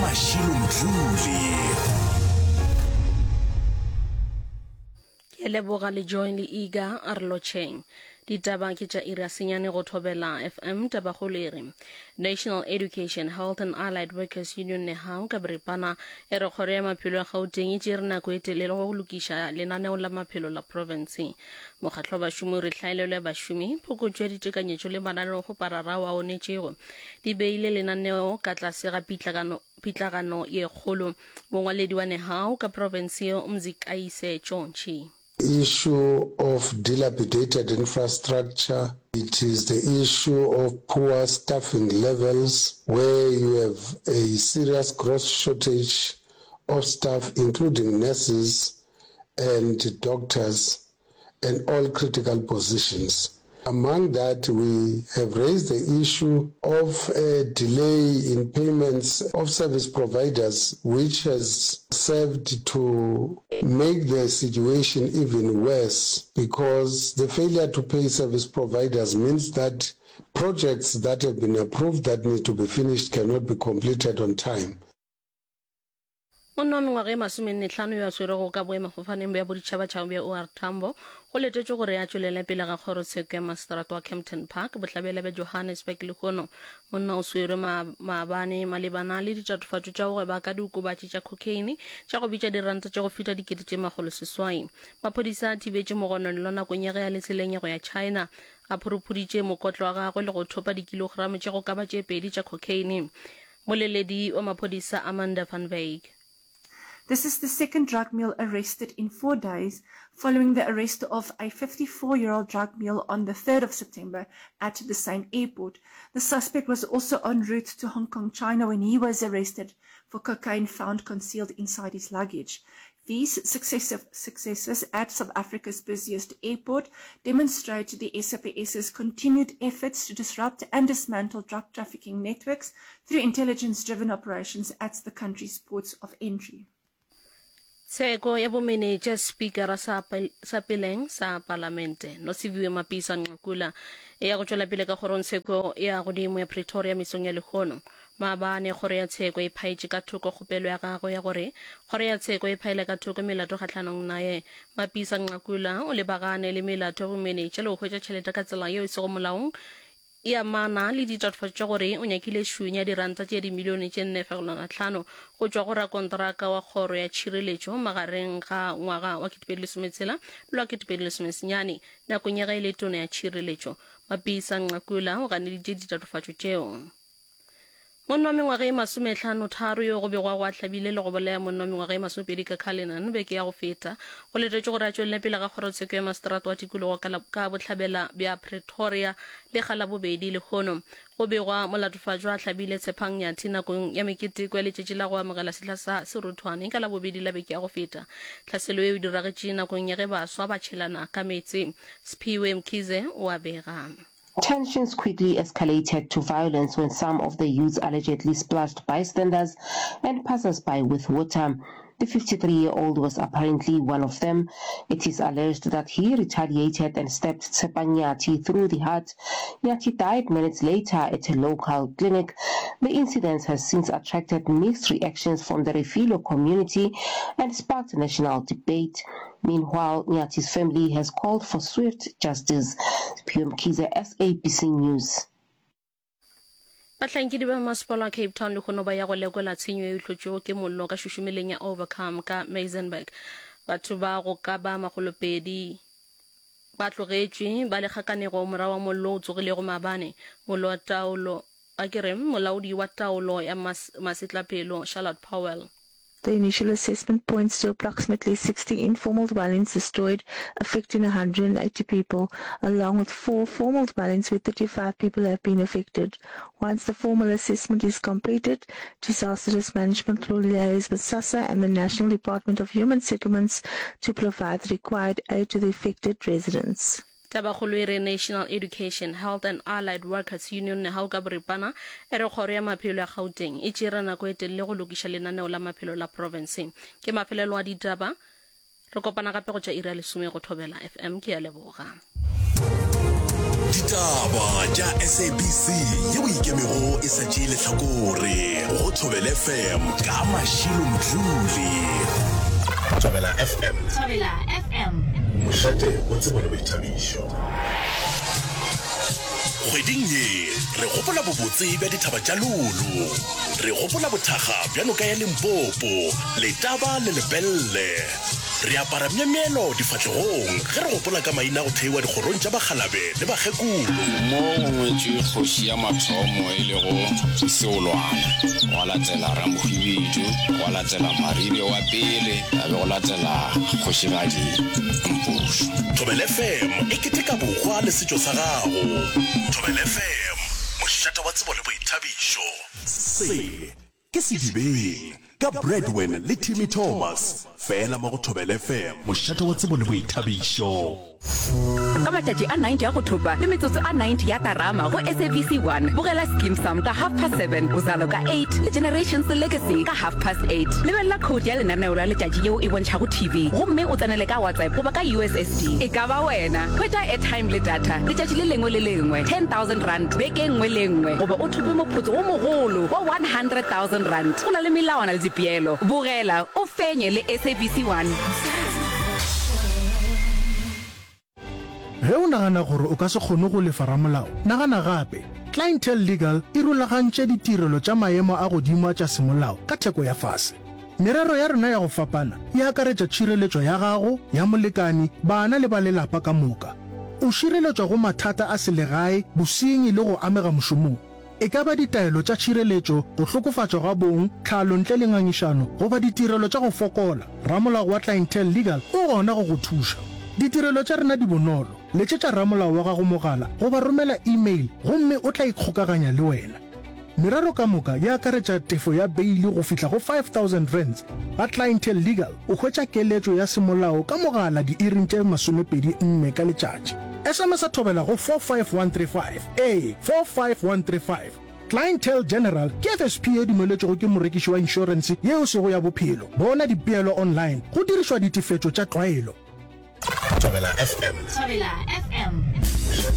Mashilo Mdluli. Ke a leboga le Joy le Iga a re lotšheng. Ditaba ke tša iri ya senyane go Thobela FM. Tabakgolo e re National Education, Health and Allied Workers Union NEHAWU ka boripana e re kgoro ya maphelo ya Gauteng e tšere nako e telele go lokiša lenaneo la maphelo la profense. Mokgatlo wa bašomi o re hlaelelo ya bašomi, phokotšo ya ditekanyetšo le mananeokgoparara ao a onetšego di beile lenaneo ka tlase ga pitlagano pitlagano ye kgolo. Mongwaledi wa NEHAWU ka profense yeo Mzikayise Tšontši. Issue of dilapidated infrastructure, it is the issue of poor staffing levels where you have a serious gross shortage of staff including nurses and doctors and all critical positions. Among that, we have raised the issue of a delay in payments of service providers, which has served to make the situation even worse because the failure to pay service providers means that projects that have been approved that need to be finished cannot be completed on time. Monna wa mengwaga e masomennehlano yo a swerwego ka boemafofaneng bja boditšhabatšhaba bja OR Tambo go letetšwe gore a tšwelele pele ga kgorotsheko ya maseterata wa Kempton Park, bohlabela bja Johannesburg lehono. Monna o swerwe maabane malebana le ditatofatšo tša go gweba ka diokobatši tša cocaine tša go bitša diranta tše go feta 8,600. Maphodisa a thibetše mogononelwa nakong ya ge a le tseleng ya go ya China. A phuruphuditše mokotlo wa gagwe le go thopa dikilogramo tše go ka ba tše pedi tša cocaine. Moleledi wa maphodisa Amanda van Wyk. This is the second drug mule arrested in four days following the arrest of a 54-year-old drug mule on the 3rd of September at the same airport. The suspect was also en route to Hong Kong, China when he was arrested for cocaine found concealed inside his luggage. These successive successes at South Africa's busiest airport demonstrate the SAPS's continued efforts to disrupt and dismantle drug trafficking networks through intelligence-driven operations at the country's ports of entry. Tsheko ya bomenetša Spikara sa, sa peleng sa Palamente, Nosiviwe Mapisa Nqakula, e ya go tšwela pele ka kgorongtsheko ya godimo ya Pretoria mesong ya lehono. Maabane, kgoro ya tsheko e phaetše ka thoko kgopelo ya gagwe ya gore kgoro ya tsheko e phaele ka thoko melato kgahlanong naye. Mapisa Nqakula o lebagane le melato ya bomenetša le go hwetša tšhelete ka tsela yeo e sego molaong e amana le ditatofatšo tša gore o nyakile šunya diranta tše dimilione tše 4.5 go tšwa go rakonteraka wa kgoro ya tšhireletšo magareng ga ngwaga wa 2016 le wa 2019 nakong ya ge e le tona ya tšhireletšo. Mapisa Nqakula o ganeditše ditatofatšo tšeo. Monna wa mengwaga e masomehlano-tharo yo go begwago a hlabile le go bolaya monna wa mengwaga e masomepedi ka Cullinan beke ya go feta, go letetšwe gore a tšwelele pele ga kgorotsheko ya maseterata wa tikologo ka, ka bohlabela bja Pretoria lekga la bobedi lehono. Go begwa molatofatšwa a hlabile Tshepang Nyathi nakong ya meketeko ya letšatši la go amogela sehla sa seruthwane ka Labobedi la beke ya go feta. Tlhaselo yeo e diragetše nakong ya ge baswa ba tšhelana ka meetse. Sphiwe Mkhize o a bega. Tensions quickly escalated to violence when some of the youths allegedly splashed bystanders and passers-by with water. The 53-year-old was apparently one of them. It is alleged that he retaliated and stabbed Tshepang Nyathi through the heart. Nyathi died minutes later at a local clinic. The incident has since attracted mixed reactions from the Refilo community and sparked national debate. Meanwhile, Nyathi's family has called for swift justice. Siphiwe Mkhize, SABC News. Bahlankedi ba masepala wa Cape Town lehono ba ya go lekola tshenyo ye e hlotšwego ke mollo ka šušumeleng ya Overcome ka Maisenburg. Batho ba go ka ba makgolopedi ba tlogetšwe ba le kgakanego morago wa mollo o tsogilego maabane. Mollo wa taolo, a ke re, molaodi wa taolo ya masetlapelo Charlotte Powell. The initial assessment points to approximately 60 informal dwellings destroyed, affecting 180 people, along with four formal dwellings where 35 people have been affected. Once the formal assessment is completed, Disaster Risk Management will liaise with SASSA and the National Department of Human Settlements to provide the required aid to the affected residents. Tabakgolo e re National Education, Health and Allied Workers Union, Nehawu ka boripana, e re Kgoro ya Maphelo ya Gauteng e tšere nako e telele go lokiša lenaneo la maphelo la profense. Ke mafelelo a ditaba. Re kopana gape go tša iri ya lesome go Thobela FM. Ke a leboga. Ditaba tša SABC yeo e ikemego e sa tšee lehlakore go Thobela FM ka Mashilo Mdluli. Thobela FM. Thobela FM. Mošate wa tsebo le boithabišo. Kgweding ye re gopola bobotse bja dithaba tša Lolo. Re gopola bothakga bja noka ya Limpopo, Letaba le Lepelle. Re apara myemyelo difahlegong ge re gopola ka maina a go theiwa dikgorong tša bakgalabe le bakgekolo. Mo go ngwetšwe kgoši ya mathomo e lego Seolwana, gwa latela Ramohwibidu, gwa latela Maribe wa pele, ya be go latela kgošigadi Mpošo. Thobela FM e keteka bohwa le setšo sa gago. Thobela FM, mošate wa tsebo le boithabišo. Se ke Sedibeng ka Bradwin le Timmy Thomas, fela mo go Thobela FM, mošate wa tsebo le boithabišo. Ka matšatši a 90 a go thopa le metsotso a 90 ya terama go SABC 1, bogela Skeem Saam ka half past seven, Uzalo ka eight le Generations Legacy ka half past eight. Lebelela khoutu ya lenaneo la letšatši yeo e bontšhago TV gomme o tsenele ka WhatsApp goba ka USSD. E ka ba wena! Hwetša airtime le data letšatši le lengwe le lengwe, R10,000 beke e nngwe le e nngwe goba o thope moputso wo mogolo wa R100,000. Go na le melawana le dipeelo. Bogela, o fenye le SABC 1. Ge o nagana gore o ka se kgone go lefa ramolao, nagana gape. Clientele Legal e rulagantše ditirelo tša maemo a godimo a tša semolao ka theko ya fase. Merero ya rena ya go fapana e akaretša tšhireletšo ya gago, ya molekani, bana le ba lelapa ka moka. O šireletšwa go mathata a selegae, bosenyi le go amega mošomong. E ka ba ditaelo tša tšhireletšo, go hlokofatšwa ga bong, tlhalo ntle le ngangišano, goba ditirelo tša go fokola, ramolao wa Clientele Legal o gona go go thuša. Ditirelo tša rena di bonolo, letšetša ramolao wa gago mogala goba romela email gomme o tla ikgokaganya le wena. Merero ka moka e akaretša tefo ya beili go fihla go R5000. Ga Clientele Legal o hwetša keletšo ya semolao ka mogala diiring tše 24 ka letšatši. SMS-a thobela go 45135. Ee, 45135. Clientele General ke FSP ye dumeletšwego ke morekiši wa inšorense ye e sego ya bophelo. Bona dipeelo online go dirišwa ditefetšo tša tlwaelo. Thobela FM. Thobela FM.